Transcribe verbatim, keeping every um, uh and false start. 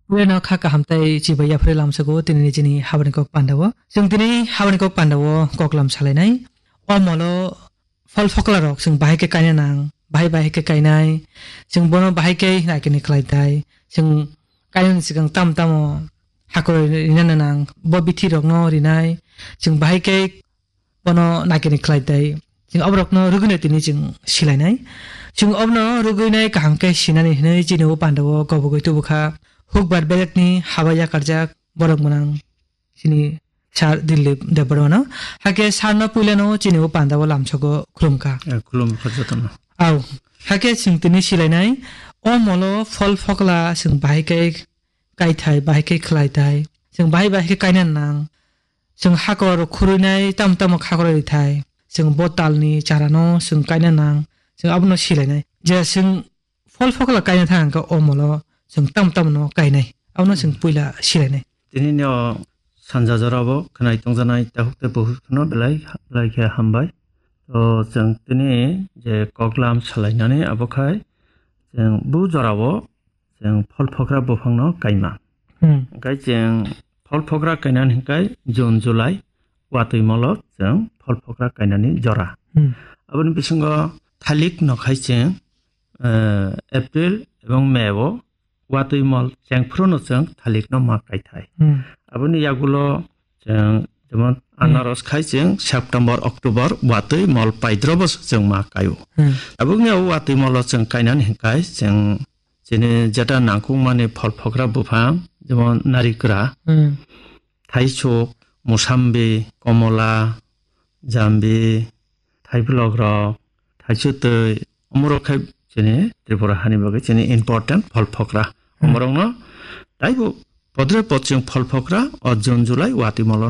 Puila no kha kaham tai chibai yaphre lamsago tini ni chini habani kok panda o. Chwng tini habani kok panda o kok lam salainai. O molo phol phokla rok chwng bahai khe kaina nang, bahai bahai khe kainai. Chwng bono bahai khe naikeni khlai tai. Chwng kainani swkang tam tamo hakor rina nang, bo bithi rok no rinai. Chwng bahai khe bono naikeni khlai tai. Chwng oborokno rwgwino tini chwng silainai. Chwng obono rwgwinai kaham khe sinani hwnwi chini o panda o kobogwi tubu kha. Hukbar belekni haba yakarjak borok gwnang chini sir Dilip Debbarmano. Hakhe sir no puilano chini o panda o lamsogo khulum kha. Eh, khulum kha jotono. Au. Hakhe chwng tini silainai. O molo phol phokla chwng bahai khe kaithai, bahai khe khlai tai. Chwng bahai bahai khe kaina nang. Chwng hakor khurwinai tam tamo hakor ri thai. Chwng bo talni charano chwng kaina nang. Chwng abono silainai. Je chwng phol phokla kaina thang khe o molo chwng tam tamo no kainai. Abono chwng puila silainai. Tini no sanja jora bo khwnai tongjanai tahuk tei buhuk no belai belai khe hambai. To chwng tini je koklam salainani abo khai chwng bu jora o chwng phol phokra buphangno kaima. Hmm. Hingkai chwng phol phokra kainani hingkai June, July watwi molo chwng phol phokra kainani jora. Hmm. Aboni bisingo thalik no khai chwng, eh, April ebong May o watwi mol chengphruno chwng thalik no ma kaithai. Hmm. Aboni yagulo chwng jemon Hmm. anaros khai chwng September, October watwi mol paidrobo chwng ma kaio. Hmm. Aboni o watwi molo chwng kainani hingkai chwng chini jeta nangkukmani phol phokra buphang, jemon narikra, Hmm. thaisuk, musambi, komola, jambi, thaiphilok rok, thaisutwi, omorok khai chini Tripura hani bagwi chini important phol phokra. Hmm. Omorokno taibo podre pod chwng phol phokra o June, July watwi molono